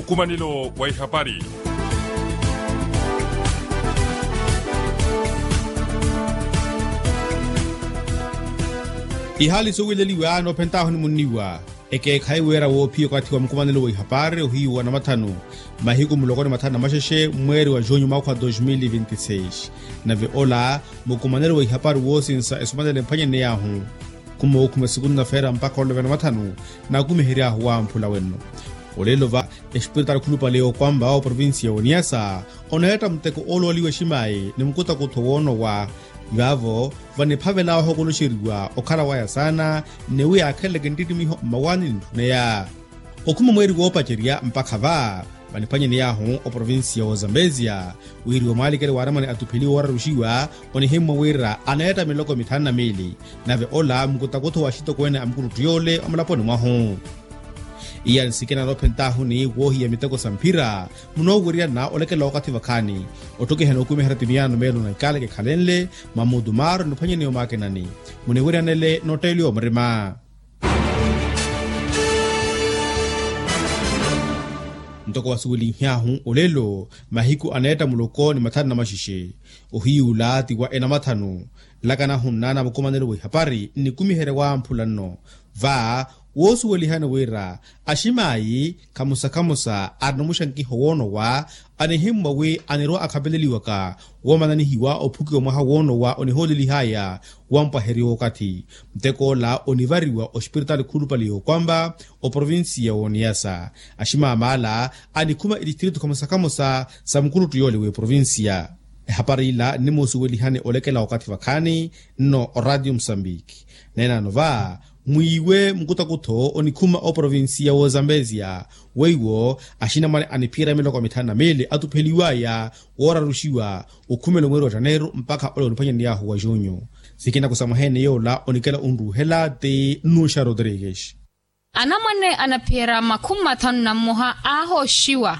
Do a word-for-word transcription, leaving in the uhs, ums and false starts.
Nkumanelo wa ihapari. Ihaali suwileliwa noophentaahu ni munniwa ekeekhayi wira woophiya okathi wa mukumanelo wa ihapari ohiyu wa namathanu mahiku muloko ni mathanu na maxexe mweeri wa junyu mwaakha wa dos mil e vinte e seis. Nave ola mukumanelo wa ihapari woosinsa esumanele emphwanyaney'ahu khuma wookhuma esuku nnafeera mpakha olove na mathanu naakumihery'ahu wamphula wenno. Olelo va espiritaali khulupale okwampa oprovincia ya oniyasa oneetta muteko oolooliwa eximayi ni mukutakutho woonowa. Vaavo vaniphavel'ahu okoloxeriwa okhala waya saana ni wi yaakheleleke nttittimiho mmawaani ni ntthuneya. Okhuma mweeri woopacerya mpakha va vaniphwanyaney'ahu oprovincia wa ozambezia wiriwa mwaalikelo waaramani atupheliwa ooraruxiwa onihimmwa wira aneetta miloko mithanu na miili. Nave ola mukutakutho wa axitokweene a mukuluttu yoole omulaponi mwahu. Iya nsikina noophentaahu ni woohiya miteko sa mphira munooweryana olekela okathi vakhaani otthokihana okumiherya timiyaano meelo na ikaaleke ekhalenle mamuudu maaru niphwanyaneya omaakinani muniweryanele nootteeliwa omurima. Ntoko wasuwelinhyahu olelo mahiku aneetta muloko ni mathanu na maxexe ohiyuula ti wa enamathanu nlakana ahunna na mukumanelo wa ihapari nnikumiherya wamphula nno. Va woosuwelihani wira aximaayi khamusa-khamusa arina omuxankiho woonowa anihimmwa wi anirwa akhapeleliwaka woomananihiwa ophukiwa mwaha woonowa onihoolelihaya wampwaherya okathi. Muttek'ola onivariwa ospiritaali khulupale y'okwampa oprovincia w'oniyasa aximaamaala anikhuma etistritu khamosa-khamosa sa mukuluttu yoole w'eprovincia. Ehapari ila nnimusuwelihani olekela okathi vakhaani nno oradio musambiki. Neenano va mwiiwe mukutakutho onikhuma oprovincia w'ozambezia weiwo axinamwane aniphiyerya miloko mithanu na miili atupheliwaya wooraruxiwa okhumela omweeri wa janeiro mpakha ole oniphwanyaney'ahu wa junyu. Sikina kusamwaha-ene yoola onikela onruuhela ti nnuxa rodrigues. Anamwane anaphiyerya makhumi mathanu na mmoha aahooxiwa.